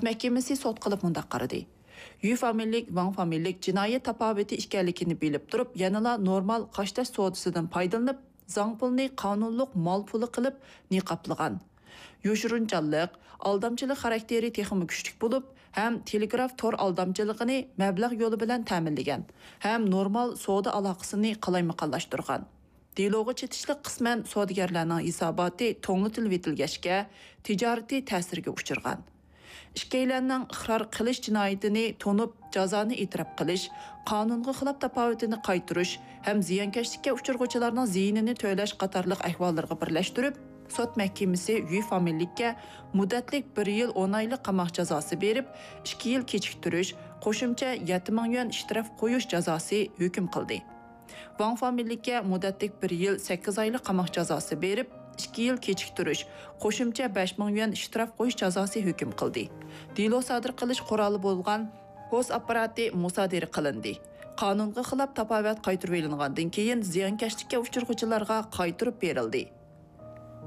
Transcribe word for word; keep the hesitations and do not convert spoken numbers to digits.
مەھكىمىسى سوت قىلىپ مۇنداق قارىدى: يۈ فامىلىلىك، ۋاڭ فامىلىلىك جىنايەت تاپاۋىتى ئىكەنلىكىنى بىلىپ تۇرۇپ، يەنىلا نورمال قاشتېش سودىسىدىن پايدىلىنىپ، زاڭ پۇلنى قانۇنلۇق مال پۇلى قىلىپ نىقابلىغان. يوشۇرۇنچانلىق، ئالدامچىلىق خاراكتېرى تېخىمۇ كۈچلۈك بولۇپ، ھەم تېلېگراف تور ئالدامچىلىقىنى مەبلەغ يولى بىلەن تەمىنلىگەن، ھەم نورمال سودا ئالاقىسىنى قالايمىقانلاشتۇرغان. دېلوغا چېتىشلىق قىسمەن سودىگەرلەرنىڭ ھېساباتى توڭلىتىلىۋېتىلگەچكە، تىجارىتى تەسىرگە ئۇچرىغان. ئىككىيلەننىڭ ئىقرار قىلىش جىنايىتىنى تونۇپ، جازانى ئېتىراپ قىلىش، قانۇنغا خىلاپ تاپاۋىتىنى قايتۇرۇش ھەم زىيانكەشلىككە ئۇچرىغۇچىلارنىڭ زىيىنىنى تۆلەش قاتارلىق ئەھۋاللىرىغا بىرلەشتۈرۈپ، سوت مەھكىمىسى يۈ فامىلىلىككە مۇددەتلىك بىر يىل ئون ئايلىق قاماق جازاسى بېرىپ، ئىككى يىل كېچىكتۈرۈش، قوشۇمچە يەتتە مىڭ يۈەن شتراف قويۇش جازاسى ھۆكۈم قىلدى. ۋاڭ فامىلىلىككە مۇددەتلىك بىر يىل سەككىز ئايلىق قاماق جازاسى بېرىپ، ئىككى يىل كېچىكتۈرۈش، قوشۇمچە بەش مىڭ يۈەن شتراف قويۇش جازاسى ھۆكۈم قىلدى. دېلو سادىر قىلىش قورالى بولغان پوس ئاپپاراتى مۇسادىرە قىلىندى. قانۇنغا خىلاپ تاپاۋەت قايتۇرۇۋېلىنغاندىن كېيىن، زىيانكەشلىككە ئۇچرىغۇچىلارغا قايتۇرۇپ بېرىلدى.